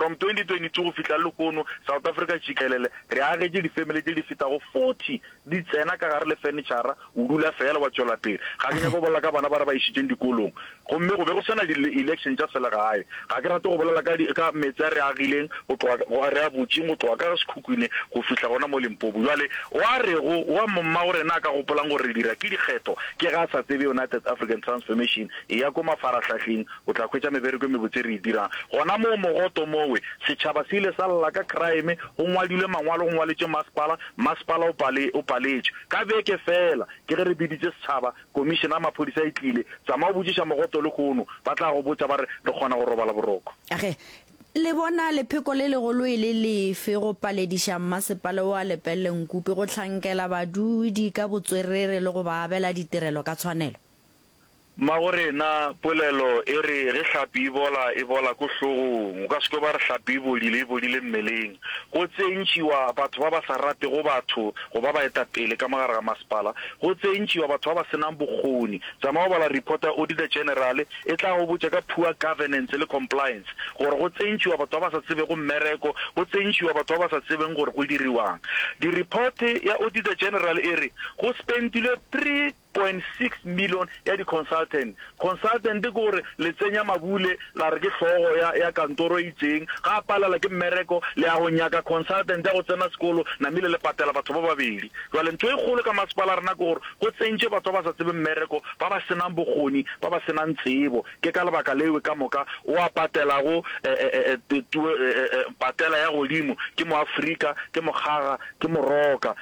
From 2022 go fihla le lehono, South Africa tšikelele, re agetše difemele tše di fetago 40 di tsena ka gare le fenitšhara, o dula feela wa tšwela pele. Ga ke nyake go bolela ka bana ba re ba išitšeng dikolong. Gomme go be go se na di-election tša selegae. Ga ke rate go bolela ka, ka meetse a re a agileng go tloga, re a butšeng go tloga ka Sekhukhune go fihla gona mo Limpopo. Bjale, wa rego, wa mmagorena a ka gopolang gore re dira ke dikgetho, ke ge a sa tsebe United African Transformation. Eya ko mafarahlahleng, o tla hwetša mebereko e mebotse e re e dirang. Gona moo mogoto mowe, setšhaba se ile sa lla ka crime, go ngwadilwe mangwalo, go ngwaletšwe masepala, masepala o pale, o paletšwe. Ka beke feela, ke ge re biditše setšhaba, komišene ya maphodisa e tlile. Tsamaya o botšiša mogoto lehono, ba tla go botša ba re, re kgona go robala boroko. Ge, le bona lepheko le legolo e le lefe go palediša mmasepala wa Lepelle Nkupi go hlankela badudi ka botswerere le go ba abela ditirelo ka tshwanelo? Mmagorena, polelo e re ge hlapi e bola, e bola ko hlogong. O ka se kwe ba re hlapi e bodile, e bodile mmeleng. Go tsentšiwa batho ba ba sa ratego batho go ba baetapele ka mo gare ga masepala. Go tsentšiwa batho ba ba se nang bokgoni. Tsamaya o bala report ya Auditor General, e tla go botša ka poor governance le compliance gore go tsentšiwa batho ba ba sa tsebego mmereko, go tsentšiwa batho ba ba sa tsebeng gore go diriwang. Di-report ya Auditor General e re go spentilwe 3.6 million ya di consultant. Consultant ke gore le tsenya mabule la re ke hlogo ya ya kantoro e itseng, ga a palela ke mmereko le ya go nyaka consultant ya go tsena sekolo namile le patela batho ba babedi. Jwale ntho e kgolo ka masepala a rena ke gore go tsentše batho ba ba sa tsebeng mmereko, ba ba senang bokgoni, ba ba senang tsebo. Ke ka lebaka lewe ka moka o a patelago patela ya godimo ke Moafrika, ke Mokgaga, ke Moroka.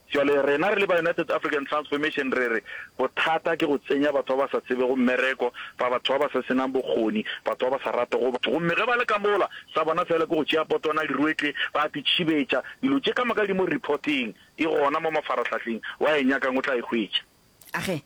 Bjale rena re le ba United African Transformation re re bothata ke go tsenya batho ba ba sa tsebego mmereko, ba batho ba ba sa senang bokgoni, batho ba ba sa ratego batho. Gomme ge ba le ka mola, sa bona feela ke go tšea potwana diruetle, ba a titšhibetša. Dilo tše ka moka di mo reporteng, e gona mo mafarahlahleng, wa e nyakang o tla e hwetša. Age,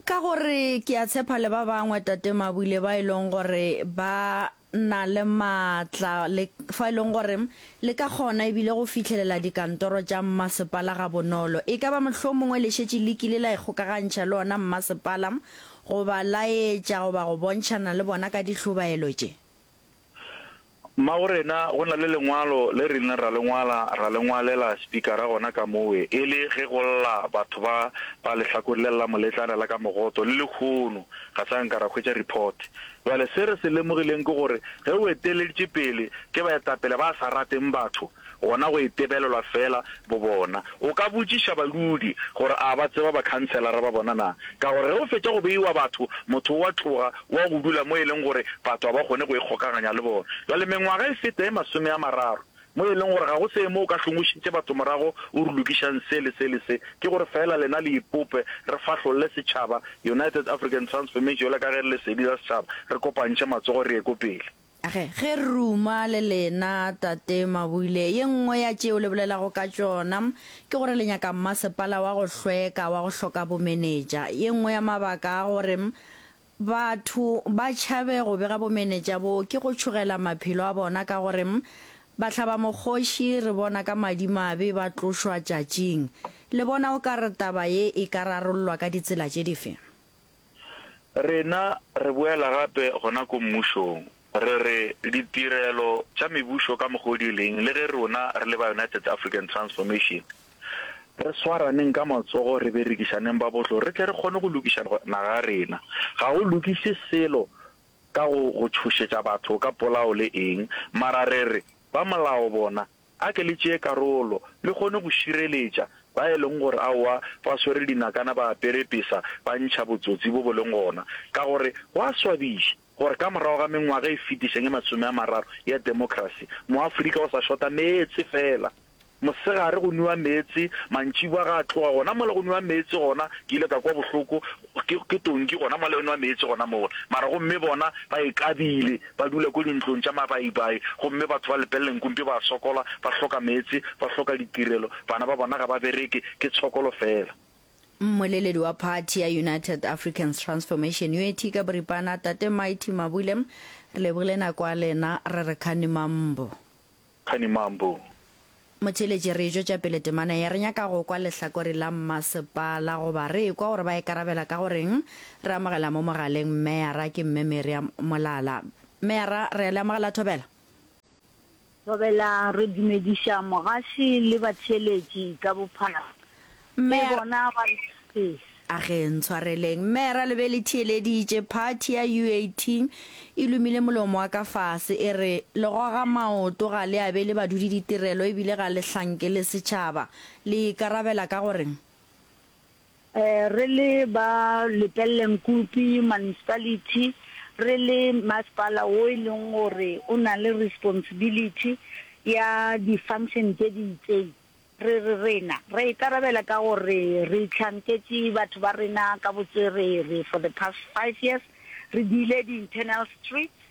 Ka gore ke a tshepa le ba bangwe, Tate Mabule, ba e leng gore ba na le maatla le fa e leng gore le ka kgona ebile go fihlelela dikantoro tša mmasepala gabonolo. E ka ba mohlomongwe le šetše le kile la ikgokagantšha le ona mmasepala goba laetša goba go bontšhana le bona ka dihlobaelo tše? Mmagorena, go na le lengwalo le re ileng ra le ngwala, ra le ngwalela Spikara gona ka mowe, e le ge go lla batho ba ba lehlakore le la moletlana la ka mogoto, le lehono ga sa nka ra hwetša report. Bjale se re se lemogileng ke gore ge o eteleditše pele ke baetapele ba sa rateng batho, gona go itebelelwa feela bobona. O ka botšiša badudi gore a ba tseba bakhanselara ba bona na? Ka gore ge o fetša go beiwa batho, motho o a tloga o a go dula mo e leng gore batho ga ba kgone go ikgokaganya le bona. Bjale mengwaga e feta e masomeamararo mo e leng gore ga go se mo o ka hlongošitše batho morago o re lokišang se le se le se. Ke gore feela lena le ipope, re fahlolle setšhaba, United African Transformation, bjalo ka ge re le lesedi la setšhaba, re kopantšhe matsogo re ye ko pele. Ge, ge re ruma le lena, Tate Mabule, ye nngwe ya tšeo le bolelago ka tšona ke gore le nyaka mmasepala wa go hlweka, wa go hloka bomenetša. Ye nngwe ya mabaka a gore batho ba tšhabe go bega bomenetša bo ke go tšhogela maphelo a bona ka gore bahlabamokgoši re bona ka madimabe ba tlošwa tšatšing. Le bona o ka re taba ye e ka rarollwa ka ditsela tše dife? Rena re boela gape gona ko mmušong, re re ditirelo tša mebušo ka mokgwa o di leng, le ge rona re le ba United African Transformation, re swaraneng ka matsogo re berekišaneng ba bohlo re tle re kgone go lokiša naga ya rena. Ga go lokiše selo ka go go tšhošetša batho ka polao le eng, mara re re ba molao bona A ke le tšee karolo, le kgone go šireletša ba e leng gore aowa ba swere dinakana ba apere pesa ba ntšha botsotsi bo bo leng gona. Ka gore go a swabiša gore ka morago ga mengwaga e fetišang e masomeamararo ya demokrasi, Moafrika o sa šota meetse feela. Mosegare go nwiwa meetse, mantšiboa ga a tloga gona mola go nwiwa meetse gona, ke ile ka kwa bohloko, ke, ke tonki gona mola e nwa meetse gona mola. Mara gomme bona ba e kabile. Ba dula ko dintlong tša mabaibai, gomme batho ba Lepelle Nkumpi ba a sokola, ba hloka meetse, ba hloka ditirelo, bana ba bona ga ba bereke, ke tshokolo feela. Mmoleledi wa phathi ya United Africans Transformation, UAT, ka boripana, Tate Mighty Mabule, re lebogile nako ya lena, re re Khani Mambo. Khani Mambo. Motheeletši, re e tšwetša pele temana ye. Re nyaka go kwa lehlakore la mmasepala goba re ekwa gore ba ikarabela ka go reng. Re amogela mo mogaleng Meyara, ke Mme Miriam Molala. Meyara, re a le amogela Thobela. Thobela, re dumediša mogaši le batheeletši ka bophara. Mme Ke bona ba re. A ge, ntshwareleng. Mera le be le theeleditše, phathi ya UAT e lomile molomo wa ka fase, e re, Le goga maoto, ga le abele badudi ditirelo ebile ga le hlankele setšhaba. Le ikarabela ka go reng? Re le ba Lepelle Nkupi Municipality, re le masepala wo e leng gore o na le responsibility ya di-function tše di itseng, re re rena re ikarabela ka gore re hlanketše batho ba rena ka botswerere for the past five years, re diile di-internal streets,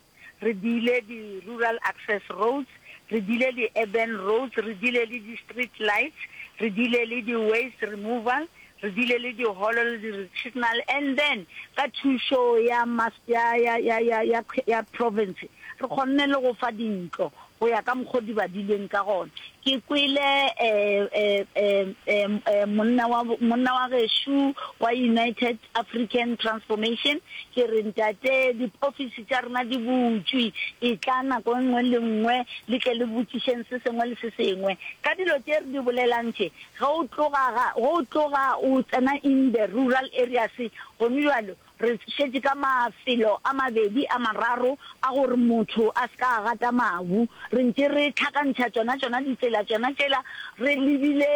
re diile di-rural access roads, re diile di-urban roads, re diile le di-street lights, re diile le di-waste removal, re diile le diholo le di-recreational and then ka thušo ya ya, ya, ya, ya, ya, ya province re kgonne le go fa dintlo go ya ka mokgo di badilweng ka gona. Ke kwele monna wa, monna wa gešo wa United African Transformation, ke re, Ntate, diofisi tša rena di butšwe, etla nako e nngwe le nngwe le tle le botšišeng se sengwe le se sengwe. Ka dilo tše re di bolelang tše, ge o tloga ga, ge o tloga o tsena in the rural areas gone bjalo, Re šetše ka mafelo a mabedi a mararo a gore motho a se ka a gata mabu. Re ntše re hlakantšha tšona tšona ditsela tšona tšela re lebile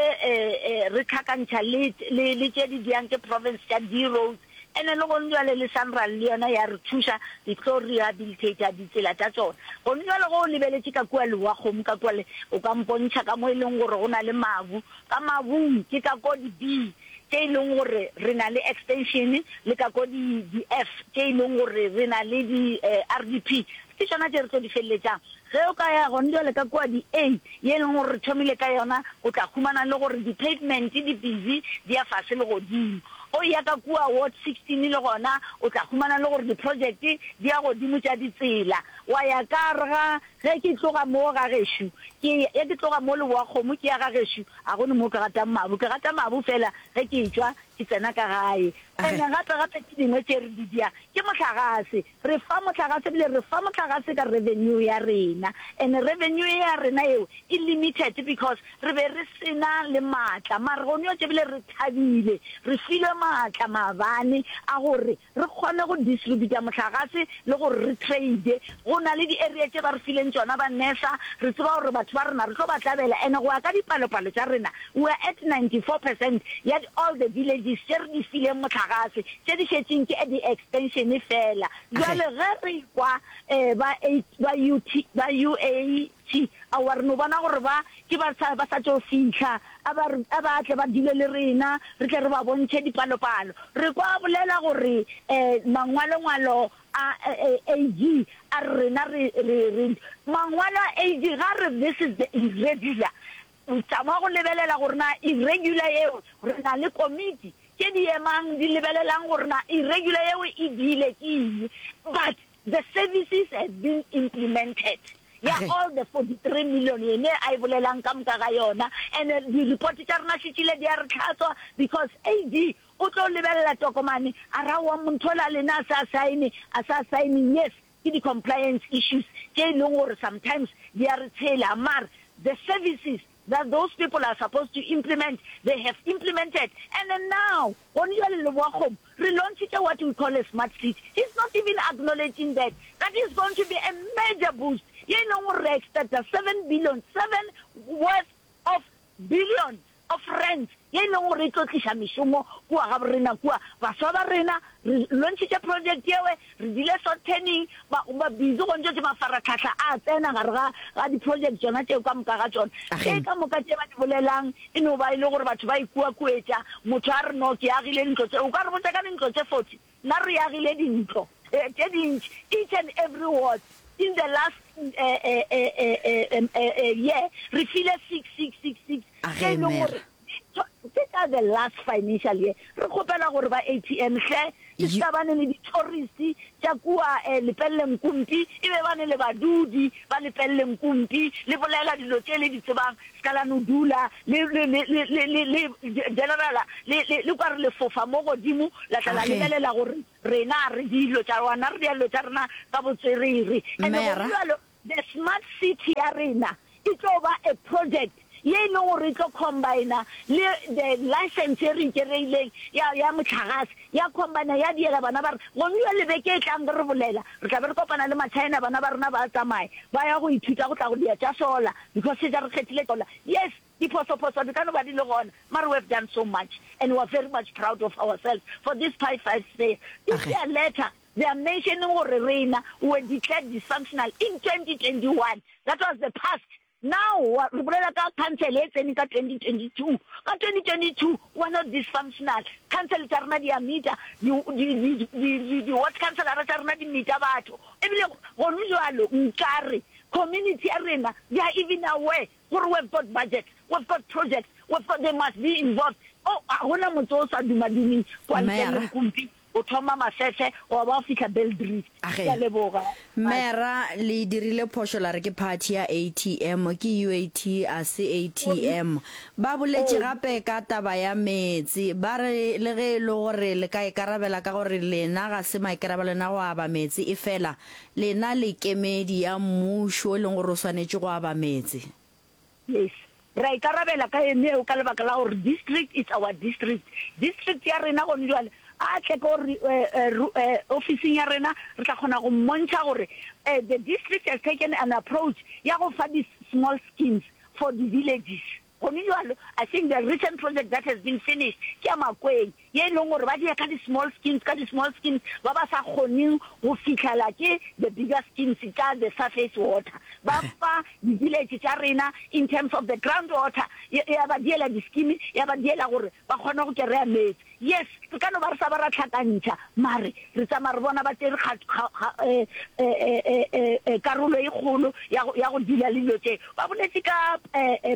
re hlakantšha le le le tše di diang ke province tša di-roads. Ene le gone bjale le Sanral le yona ya re thuša di tlo rehabilitator ditsela tša tšona. Gone bjale ge o lebeletše ka kua Lewakgomo ka kua le o ka mpontšha ka mo e leng gore go na le mabu. Ka mabung ke ka ko di-B. tše e leng gore re na le extension le ka ko di di-F tše e leng gore re na le di RDP, ke tšona tše re tlo di feleletšang. Ge o ka ya gone bjale ka kua di-A ye e leng gore re thomile ka yona, o tla humana le gore di-pavement di busy di ya fase le godimo. O ya ka kua ward 16 le gona o tla humana le gore di-project di ya godimo tša ditsela. Wa ya ka gare ga Ge ke tloga mo ga gešo, ke ya, ke tloga mo Leboakgomo ke ya ga gešo, a go ne mo ke gatang mabu. Ke gata mabu feela ge ke etšwa ke tsena ka gae. Ene gape gape tše dingwe tše re di dia ke mohlagase. Re fa mohlagase ebile re fa mohlagase ka revenue ya rena. Ene revenue ye ya rena yeo e limited because re be re se na le maatla. Mara gone yo tše bile re thabile, re filwe maatla maabane a gore re kgone go distributa mohlagase le gore re trade. Go na le di area tše ba re fileng tšona ba NERSA, re tseba gore batho ba rena re tlo ba tlabela and go ya ka dipalopalo tša rena we are at 94 percent ya all the villages tše re di fileng mohlagase, tše di šetšeng ke di extension fela. Bjale ge re kwa ba ba UT ba UA Tši, aowa, re no bona gore ba ke ba sa, ba sa tšo fihla. A ba re, a ba tle ba dule le rena, re tle re ba bontšhe dipalopalo. Re kwa a bolela gore, eh, mangwalongwalo a, eh, AG a re rena re, re, re, mangwalo a AG ga a re this is the irregular. Tšama go lebelela gore na irregular yeo, re na le komiti tše di emang di lebelelang gore na irregular yeo e diile ke eng. But The services have been implemented ya all the 43 million yene a e bolelang ka moka ga yona and di report tša rena šetšile di a re hlatswa because AD o tlo lebelela tokomane a ra wa montho la lena a sa sign a sa sign yes ke di compliance issues tše e leng gore sometimes di a re tshela mara the services that those people are supposed to implement, they have implemented. And then now, gone jwale Leboakgomo, re launchitše what we call a smart city. He's not even acknowledging that. That is going to be a major boost. Ye e leng gore re expecta 7 billion, 7 worth of billion of rands ye e leng gore e tlo tliša mešomo kua ga borena kua. Baswa ba rena, re launchitše project yewe, Re dile sottening, ba, ba busy go ntšo tše mafaratlhahla a tsena gare ga, ga di-project tšona tšeo ka moka ga tšona. Tše ka moka tše ba di bolelang e no ba e le gore batho ba ikuakuetša. Motho a re, No, ke agile dintlo tše. O ka re botša ka dintlo tše 40? Nna re agile dintlo tše dintši, each and every ward. In the last year re file six, six, six, six, tše e leng gore Ke ka the last financial year. Re kgopela gore ba ATM hle e se ka bane le di-tourist tša kua Lepelle Nkumpi, e be bane le badudi ba Lepelle Nkumpi, le bolela dilo tše le di tsebang, se ka la no dula le, le, le, le, le, le, le generala le, le, le kwa re le fofa mo godimo, la tla la lebelela gore rena a re dilo tša rona, re dira dilo tša rena ka botswerere. And-e go bjalo, the smart city ya rena. E tlo ba a project ye e leng gore e tlo combiner le the license ye re e kereileng ya, ya mohlagase, ya combiner ya diela bana ba rena. Gone bjale beke e tlang ge re bolela, re tla be re kopana le ma-China, bana ba rena ba tsamaya ba ya go ithuta go tla go dia tša solar because šetša re kgethile solar. Yes, diphosophoso di ka no ba di le gona, mare we have done so much and we are very much proud of ourselves for this five, five years. If their letter They are mentioning gore rena we were declared dysfunctional in 2021, that was the past, now re bolela ka council e tsene ka 2022, ka 2022 we are not dysfunctional, council tša rena di a meeta, di ward councilora tša rena di meeta batho, ebile gone jwalo nkare community ya rena they are even aware gore we've got budget, we've got projects, we've got, they must be involved. Oh, ga gona motse o sa dumadumeng kwa ntle le Nkumpi. O thoma Mafefe wa ba wa fihla Beldrift. Age. Ke a leboga. Mera, le dirile phošo la re ke party ya ATM, ke UAT a se ATM. Ba boletše gape ka taba ya meetse, ba re le ge e le gore le ka ikarabela ka gore lena ga se maikarabelo a lena go aba meetse, efela lena le kemedi ya mmušo e leng gore o swanetše go aba meetse. Yes. Re a ikarabela ka eneo ka lebaka la gore district is our district. District ya rena gone jwale a tle ko ofising ya rena re tla kgona go mmontšha gore the district has taken an approach ya go fa di small schemes for di villages. Gone jwalo I think the recent project that has been finished ke ya Makweng. ye e leng gore ba dia ka di-small schemes, ka di-small schemes, ba ba sa kgoneng go fihlela ke the bigger schemes tša the surface water. Ba fa di-village tša rena in terms of the ground water, ya ba diela di-scheme, ya ba diela gore ba kgone go kereya meetse. Yes, re ka no ba re sa ba ra hlakantšha, mare re tsamaya re bona ba tšere karolo e kgolo ya go dealer le dilo tše. Ba boletše ka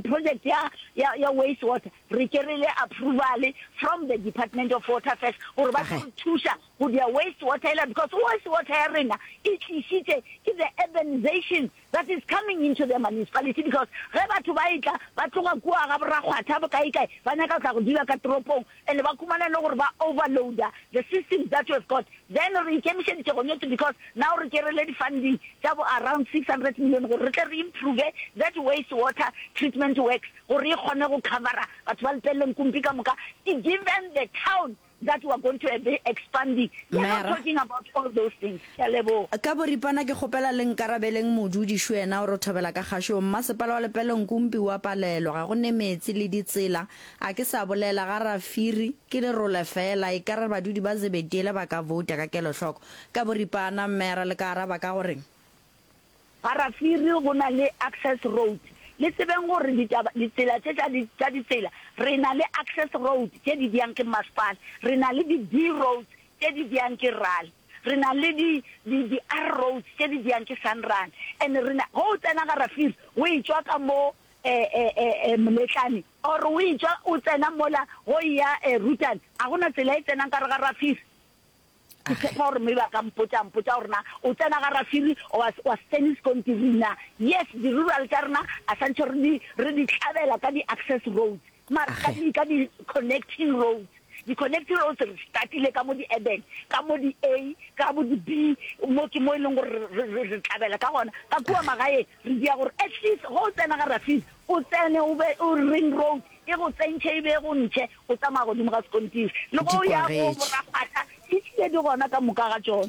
project ya waste water. Re kerile approval from the Department of Water Affairs gore ba tlo re thuša go dia waste water ela because waste water ya rena e tlišitše ke the urbanization that is coming into the municipality because ge batho ba etla ba tloga kua ga boRakgwatha bokae kae ba nyaka go tla go dula ka toropong and ba khumana e le gore ba overloader the systems that we have got then re ikemišeditše go nyetse because now re kerile di funding tša bo around 600 million gore re tle re improve that waste water treatment works gore e kgone go covera batho ba Lepelle-Nkumpi ka moka, given the town that we are going to be expanding, we are not Mera. talking about all those things. Ke a leboga. Ka boripana ke kgopela le nkarabeleng modudi šo yena o re thobela ka kgašong. Mmasepala wa Lepelle-Nkumpi o a palelwa, ga go ne meetse le ditsela. A ke sa bolela ga Rafiri, ke lerole fela, ekare badudi ba Zebediele ba ka vouta ka kelohloko. Ka boripana Mera le ka araba ka goreng? Ga-Rafiri go na le access road. Le tsebeng gore ditaba, ditsela tše tša di, tša ditsela, re na le access road tše di diang ke masepala, re na le di B roads tše di diang ke RAL, re na le di, di, di R roads tše di diang ke SANRAL. And re na, ge o tsena ga-Rafiri o etšwa ka mo eh, eh, eh, eh, Moletlane or o etšwa o tsena mola go eya eh, Rutane, ga go na tsela e tsenang ka re ga-Rafiri. Ke tshepa gore maybe a ka mpotša, a mpotša gore na o tsena ga Rafiri or wa, wa se tsene sekontiri na. Yes, di-rural tša rena a santšhe re di, re di hlabela ka di-access roads, mara ka di, ka di-connecting roads. Di-connecting roads re startile ka mo di-urban, ka mo di-A, ka bo di-B, mo ke mo e leng gore re, re, re tlabela ka gona. Ka kua magaeng re dia gore at least ge o tsena ga Rafiri, o tsene o be o ring road e go tsentšhe e be e go ntšhe. O tsamaya godimo ga sekontiri. Le go ya go borakgwatha, di tlile di gona ka moka ga tšona.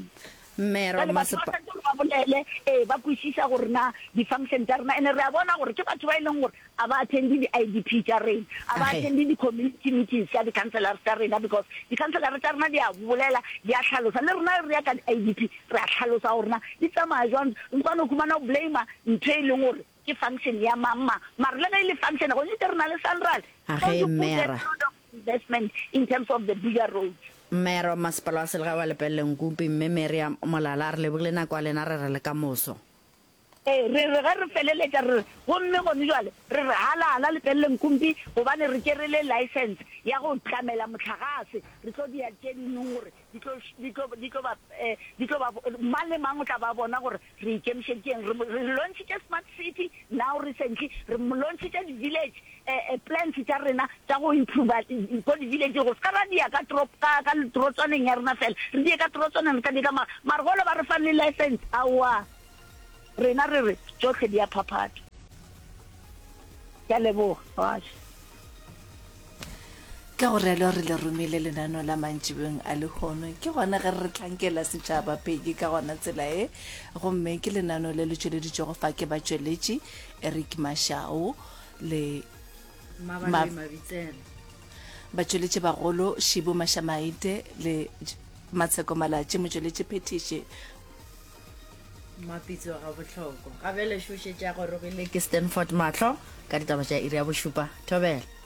Mmero, Bjale batho ba mmasepa. swanetše gore ba bolele, ee, ba kwešiša gore na di-function tša rena, and-e re a bona gore ke batho ba e leng gore a ba attend-e di-I_D_P tša rena, a ba Age. attend-e di-community meetings tša di-councillors tša rena, because di-councillor tša rena di a bolela, di a hlalosa. Le rena re ya ka di-I_D_P, re a hlalosa gore na di tsamaya jwang. O ka no khumana o blame-a ntho e leng gore Ke function ya mang mang. Mara le ge e le function, go nnete re na le SANRAL. A So ge, you put a Mera. lot of investment in terms of the bigger roads. Mera wa Masepala wa Selegae wa Lepelle Nkumpi, Mme Meriam Molala, a re lebogile nako ya lena, re re le ka moso. Ee, re re ge re feleletša re re, gomme gone jwale re re halala Lepelle Nkumpi gobane re tšere license ya go tlamela mohlagase, re tlo dia tše dingwe gore di tlo, di tlo, di tlo ba, di tlo ba, mang le mang o tla ba bona gore Re ikemišeditšeng? Re, re launchitše Smart City now recently, re launchitše di-village eh, eh, plans tša rena tša go improva ko di-village go se ka ra dia ka torop, ka, ka torotswaneng ya rena fela, re die ka torotswaneng, re ka die ka ma, mara gole ba re fang le license, aowa, rena re re tšohle di a phaphatha. Ke a leboga, Mogaši. Ka go realo re le romile lenaneo la mantšibeng a lehono. Ke gona ge re hlankela setšhaba Peggy ka gona tsela ye. Gomme ke lenaneo le le tšweleditšwego fa ke batšweletši Eric Mashau le Mmabaloi Mabitsela. Batšweletši bagolo Shibu Mashamaite le Matsheko Malatši, motšweletši phethiši. Mmapitsi wa gabohlokwa. Ga bjale šo šetše a gorogile ke Stanford Mahlo ka ditaba tša iri ya bošupa. Thobela.